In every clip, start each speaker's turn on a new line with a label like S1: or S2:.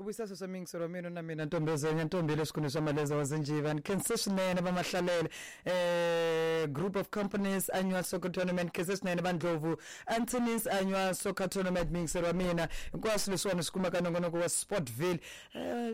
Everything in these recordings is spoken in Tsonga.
S1: Vuyisa sweswo miyingiselo wa mina na mina Ntombezenya Ntombi le swikhundleni swa Maleza wa Zinjiva. Ni khense swinene va Mahlalele Group of Companies Annual Soccer Tournament, khense swinene va Ndlovu Anthony's Annual Soccer Tournament miyingiselo wa mina. Hinkwaswo leswiwani swi kumaka nongonoko wa Sportville.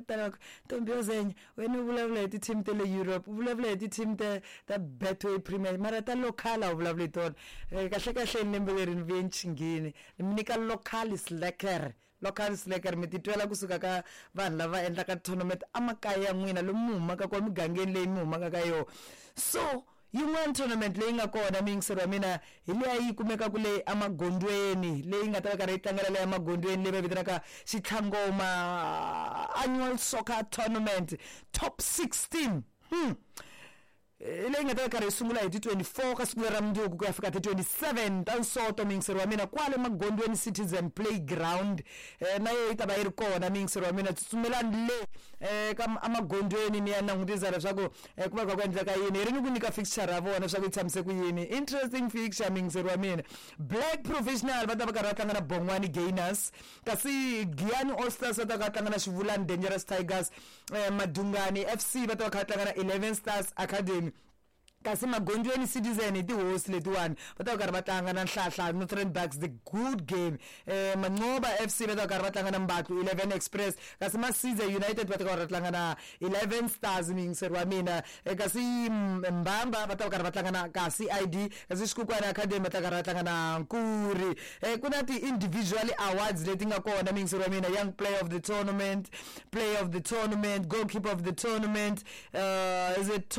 S1: Tala Ntombi yo Zenya wena u vulavula hi ti-team ta le Europe, u vulavula hi ti-team ta ta Betway Premier mara ta local a wu vulavuli hi tona. Kahle kahle lembe leri ni vuye ni chinghini ni mi nyika local is lekker. Local Slacker mi titwela kusuka ka vanhu lava endlaka tournament emakaya ya n'wina lomu mi humaka kona migangeni leyi mi humaka ka yona so yin'wana tournament leyi nga kona muyingiseri wa mina hi leya yi kumekaka le emagondzweni leyi nga ta va karhi yi tlangela le emagondzweni leyi va vitanaka Xitlhangoma annual soccer tournament top 16 hmm. Leyi nga ta va karhi yi sungula hi ti 24 ka siku leri ra mundzuku ku ya fika ti 27 ta Nsoto muyingiseri wa mina kwale magondzweni Citizen Playground na yo yi ta va yi ri kona muyingiseri wa mina tsutsumelani le ka emagondzweni ni ya langutisa leswaku ku va kha ku endleka yini hi ri ni ku nyika fixture ya vona leswaku yi tshamise ku yini interesting fixture muyingiseri wa mina Black Professional va ta va karhi va tlanga na Bongwani Gainers kasi Giyani All Stars va ta va tlanga na Xivulani Dangerous Tigers Madungani FC va ta va kha va tlanga na 11 Stars Academy kasi Magondzweni Citizen hi tihosi letiwani va ta va karhi va tlanga na Nhlahla Northern Bucks the good game Mancoba FC va ta va karhi va tlanga na Mbatlu 11 Express kasi Masize United va ta va karhi va tlanga na 11 Stars muyingiseri wa mina kasi Mbamba va ta va karhi va tlanga na kasi ID kasi Xikukwana Academy va ta karhi va tlanga na Nkuri ku na ti-individual awards leti nga kona muyingiseri wa mina young player of the tournament player of the tournament goalkeeper of the tournament is it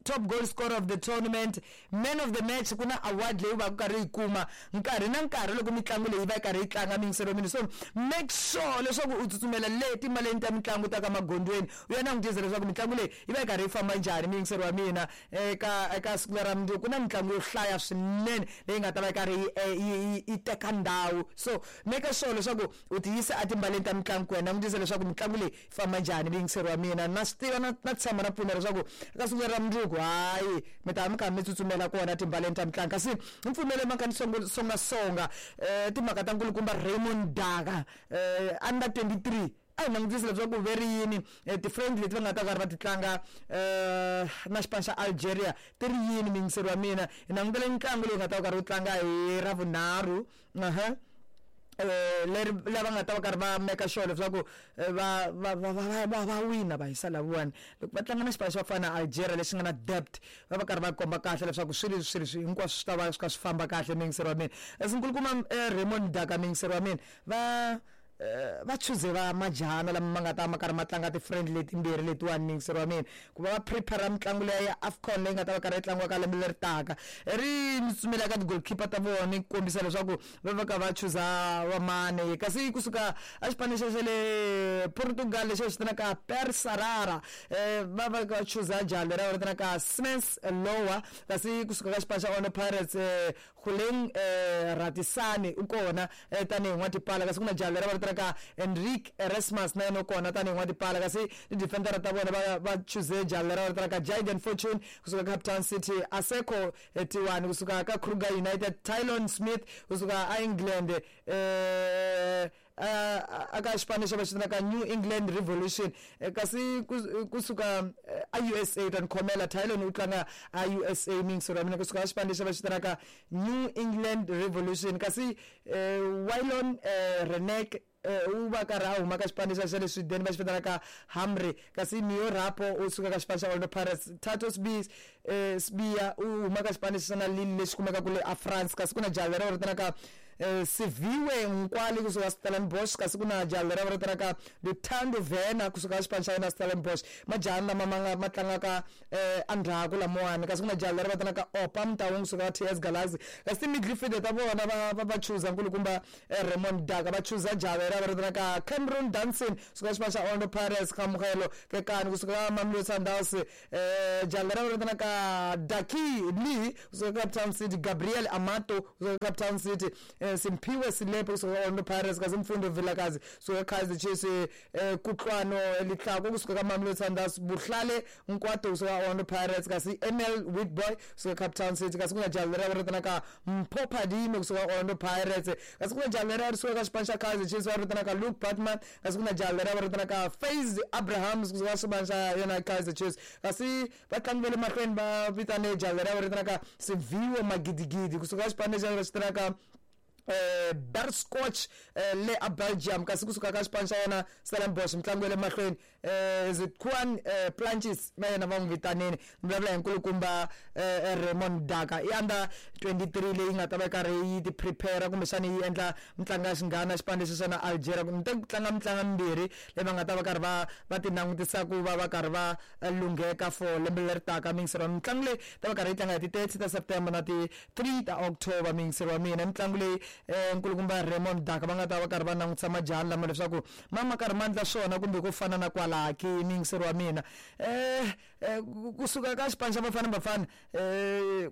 S1: top goal scorer of the tournament man of the match ku na award leyi va karhi yi kuma nkarhi na nkarhi loko mitlangu leyi va yi karhi yi tlanga muyingiseri wa mina so make sure leswaku u tsutsumela le timaleni ta mitlangu ta ka magondzweni u ya langutisa leswaku mitlangu leyi yi va yi karhi yi famba njhani muyingiseri wa mina eka eka siku lera mundzuku ku na mitlangu yo hlaya swinene leyi nga ta va yi karhi yi yi teka ndhawu so make sure leswaku u tiyisa etimbaleni ta mitlangu ku ya langutisa leswaku mitlangu leyi famba njhani muyingiseri wa mina na swi tiva na na tshemba na pfumela leswaku eka siku leri ra mundzuku hayi mi ta va mi karhi mi tsutsumela kona timbaleni ta mitlangu kasi ni pfumele mhaka ni songasonga timhaka ta nkulukumba Raymond Daka under 23 a hi langutisi leswaku ve ri yini ti-friendly leti va nga ta karhi va ti tlanga na xipano xa Algeria ti ri yini muyingiseri wa mina hi langutele ntlangu leyi nga ta va karhi wu tlanga hi Ravunharhu leri lava nga ta va karhi va make sure leswaku va va va va va va wina va hisa lavawani loko va tlanga na xipano xa ku fana na Algeria lexi nga na depth va va karhi va komba kahle leswaku swilo leswi swilo hinkwaswo swi ta va swi kha swi famba kahle muyingiseri wa mina as nkulukumba Raymond Daka muyingiseri wa mina va va chuze va majahana lama ma nga ta ma karhi ma tlanga ti-friendly letimbirhi letiwani muyingiseri wa mina ku va va prepare mitlangu leya ya AFCON leyi nga ta va karhi yi tlangiwa ka lembe leri taka ri ni tsutsumela ka ti-goalkeeper ta vona ni kombisa leswaku va va ka va chuza va mane kasi kusuka a xipano xa xa le Portugal lexi va xi vitanaka Persarara va va va chuza jaha leri va vitanaka Siemens Lower kasi kusuka ka xipano xa Orlando Pirates Guleng Ratisani u kona tanihi n'watipala kasi ku na jaha leri va vitanaka Enrique Erasmus na yena u kona tanihi n'watipala kasi ti-defendera ta vona va va chuze jaha leri va vitanaka Jayden Fortune kusuka Cape Town City Aseko Tiwani kusuka ka Kruger United Tylon Smith kusuka a England aka xipano lexi va xi vitanaka New England Revolution kasi kusuka a USA ta ni khomela Tylon u tlanga a USA miyingiselo ya mina kusuka ka xipano lexi va xi vitanaka New England Revolution kasi Wylon Renek u va karhi a huma ka xipano xa le Sweden va xi vitanaka Hamri kasi Neo Rapo u suka ka xipano xa Orlando Pirates Thato Sibiya u huma ka xipano lexi xa na Lille lexi kumekaka le a France kasi ku na jaha leri va vitanaka Siviwe Nkwali kusuka Stellenbosch kasi ku na jaha leri va vitanaka Luthando Vena kusuka ka xipano xa yena Stellenbosch majaha lama ma nga ma tlangaka endzhaku lamawani kasi ku na jaha leri va vitanaka Opa Mtaung kusuka ka T_S Galaxy kasi ti-midfielder ta vona va va va chuza nkulukumba Raymond Daka va chuza jaha leri va vitanaka Cameron Danson kusuka xipano xa Orlando Pirates Khamugelo Kekani kusuka ka Mamelodi Sundowns jaha leri va vitanaka Daki Lee kusuka Cape Town City Gabriel Amato kusuka Cape Town City. Simphiwe Silepe kusuka Orlando Pirates, kasi Mfundo Vilakazi kusuka Kaizer Chiefs, Kutlwano Litlhako kusuka ka Mamelodi Sundowns, Buhlale Nkwato kusuka Orlando Pirates, kasi ML Witboy kusuka Cape Town City, kasi ku na jaha leriya va vitanaka Mpho Phadime kusuka Orlando Pirates, kasi ku na jaha leriya ri suka ka xipano xa Kaizer Chiefs va vitanaka Luke Batman, kasi ku na jaha leriya va vitanaka Faiz Abrahams kusuka xipano xa yona Kaizer Chiefs, kasi vatlangi va le mahlweni va vitane jaha leriya va vitanaka Siviwe Magidigidi kusuka xipano lexi va xi vitanaka Berscotch le a Belgium, kasi kusuka ka xipano xa yena Stellenbosch mitlangu ya le mahlweni is it Juan Planches na yena va n'wi vitanini. Ni vulavula hi nkulukumba Raymond Daka, i under 23 leyi nga ta va yi karhi yi ti prepare kumbexana yi endla mitlangu ya xinghana xipano lexi xa na Algeria, ni te ku tlanga mitlangu mimbirhi leyi va nga ta va karhi va ti langutisa ku va va karhi va lungheka for lembe leri taka. Miyingiseri wa mitlangu leyi ta va karhi yi tlanga hi ti 30 ta September na ti 3 ta October. Miyingiseri wa mina, mitlangu leyi nkulukumba Raymond Daka va nga ta va karhi va langutisa majaha lama leswaku ma karhi ma endla swona kumbe ku fana na kwalaha ki. Miyingiseri wa mina, kusuka ka xipano xa Bafana Bafana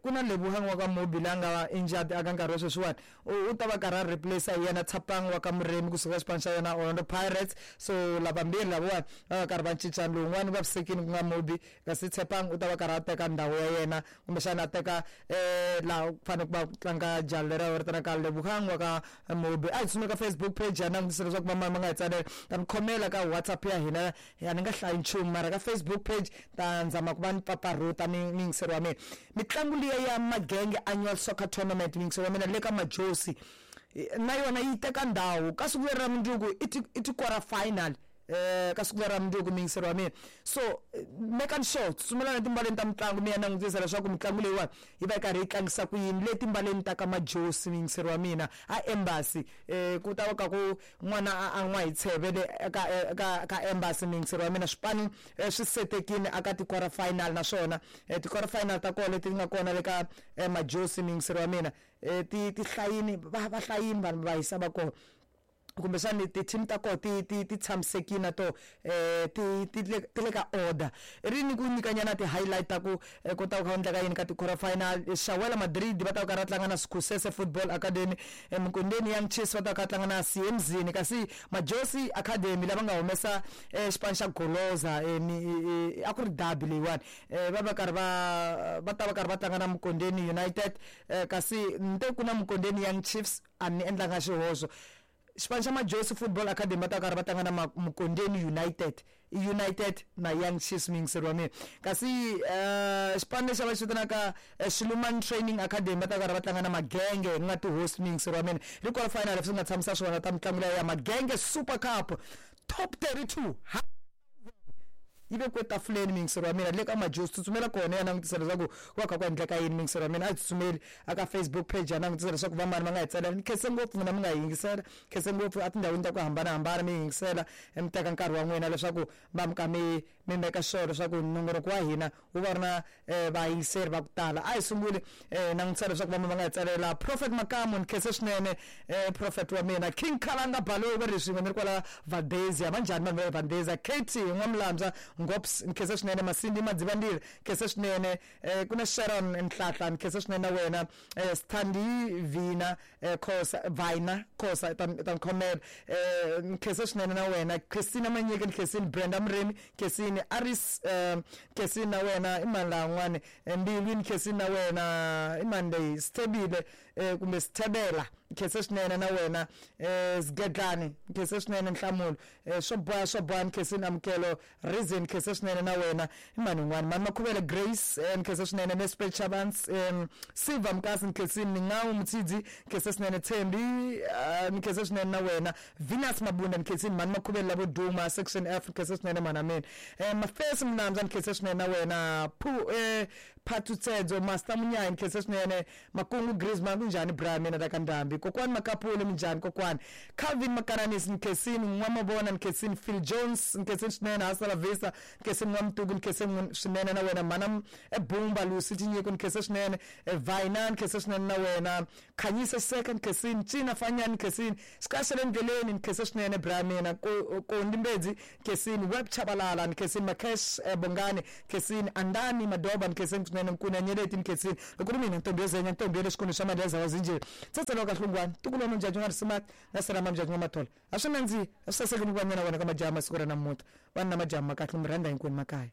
S1: ku na Lebohang wa ka Mobi la nga injured aka nkarhi wa sweswiwani, u ta va karhi a replace hi yena Tshapang wa ka Muremi kusuka xipano xa yona Orlando Pirates. So lavambirhi lavawani va va karhi va cincana, lowun'wani va vavisekile ku nga Mobi, kasi Tshepang u ta va karhi a teka ndhawu ya yena kumbexana a teka laha ku fanele ku va ku tlanga jaha leriya va vitanaka Lebohang wa ka Mobi. A hi tsutsumeli ka Facebook page ya langutisa leswaku vamani va nga hi tsalela, ta mi khomela ka WhatsApp ya hina ya ni nga hlayi nchumu, mara ka Facebook page ta nzama ku va ni pfapfarhuta miyingiseri wa mina. Mitlangu liya ya Magenge Annual Soccer Tournament, miyingiseri wa mina, le ka Majosi na yona yi teka ndhawu ka siku leri ra mundzuku, i ti-quarter final ka siku leri ra mundzuku, miyingiseri wa mina. So make sure tsutsumela na timbaleni ta mitlangu mi ya langutisa leswaku mitlangu leyiwani yi va yi karhi yi tlangisa ku yini le timbaleni ta ka Majosi, miyingiseri wa mina, a embassy. Ku ta va ka ku n'wana a an'wa hi tsheve le ka embassy, miyingiseri wa mina. Swipano swi setekile aka ti-quarter final, naswona ti-quarter final ta kona leti nga kona le ka Majosi, miyingiseri wa mina, ti hlayini, va hlayini vanhu va hisa va kona, kumbexani ti-team ta kona ti tshamisekile na to ti le ka order. Ri ni ku nyikanyana ti-highlight ta ku ku ta ku kha endleka yini ka ti-quarter final. Shawela Madrid va ta va karhi va tlanga na Sikhusese Football Academy, Mkondeni Young Chiefs va ta va kha tlanga na Siemzini, kasi Majosi Academy lava nga humesa xipano xa Goloza, a ku ri derby leyiwani, va va karhi va ta va karhi va tlanga na Mkondeni United, kasi ni te ku na Mkondeni Young Chiefs, a ni endlanga xihoxo. Xipano xa Majosi Football Academy va ta karhi va tlanga na Mkondeni United, United na Young Chiefs, miyingiseri wa mina. Kasi xipano lexi va xi vitanaka Xiluman Training Academy va ta karhi va tlanga na Magenge ku nga ti-host, miyingiseri wa mina. Ri quarter final leswi nga tshamisa swona ta mitlangu leya ya Magenge Super Cup Top 32 yi vekiwe tafuleni, miyingiseri wa mina, le ka Majosi. Tsutsumela kona ya langutisa leswaku ku va kha ku endleka yini, miyingiseri wa mina. A hi tsutsumeli aka Facebook page ya langutisa leswaku vamani va nga hi tsalela. Ni khense ngopfu n'wina mi nga hi yingisela, khense ngopfu a tindhawini ta ku hambanahambana mi yingisela, mi teka nkarhi wa n'wina leswaku va mi ka mi meka sure leswaku nongonoko wa hina wu va ri na vayingiseri va ku tala. A hi sunguli langutisa leswaku vamani va nga hi tsalela. Prophet Makamu, ni khense swinene prophet wa mina. King Khalanga Baloyi va ri swin'we ni ri kwala Valdezia, va njhani vanhu va le Valdezia? Katie N'wamulambya Ngops, ni khense swinene. Masindi Madzivandile, khense swinene. Ku na Sharon Nhlahla, ni khense swinene na wena. Sthandi Vina Khosa, Vina Khosa, ta ni khomela, ni khense swinene na wena. Christina Manyike, ni khensini. Brenda Murimi, khensini. Aris, khensini na wena. I mani laha n'wani? Mbilwi, ni khensini na wena. I mani leyi? Sithebile kumbe Sithebela, khense swinene na wena. Sigedlani, khense swinene. Nhlamulo swo boha swo boha, ni khensini. Amukelo Reason, khense swinene na wena. I mani un'wana? Mani Makhuvele Grace, ni khense swinene. Nespet Chavans, Silva Mkasi, ni khensini. Ningawu Mutsidzi, khense swinene. Thembi, ni khense swinene na wena. Venus Mabunda, ni khensini. Mani Makhuvele lavo duma section F, ni khense swinene mhana mina. Mafesi Mnamza, ni khense swinene na wena. Phatutsedzo Master Munyayi, ni khense swinene. Makungu Griezmann, kunjhani bra mina la ka Ndhambi? Kokwani Makapule, minjhani kokwani? Calvin Makananisi, ni khensini. N'wamavona, ni khensini. Phil Jones, ni khensini swinene. Hasta la vista, ni khensini. N'wamtuku, ni khensini swinene na wena. Mhana Bumba Lucy Tinyiko, ni khense swinene. Vina, ni khense swinene na wena. Khanyisa Seka, ni khensini. Cina Fanyani, ni khensini. Xikaya le ndleleni, ni khense swinene bra mina. Kondi Mbedzi, ni khensini. Web Chabalala, ni khensini. Makesh Bongani, ni khensini. Andani Madoba, ni khensini. swinene nkuna nyeleti ni khensini loko ri mina ntombi yo zenya ntombi ya le xikolweni xa maleza wa zinjiri tsatsela ka hlungwani tukulu wa mujaju nga risimati na sirama mujaju wa mathola a swi nandzihi a swi saseki ni ku va nyana wena ka majaha masiku ra namuntlha vanhu na majaha ma kahle mi rhandza hinkwenu makaya.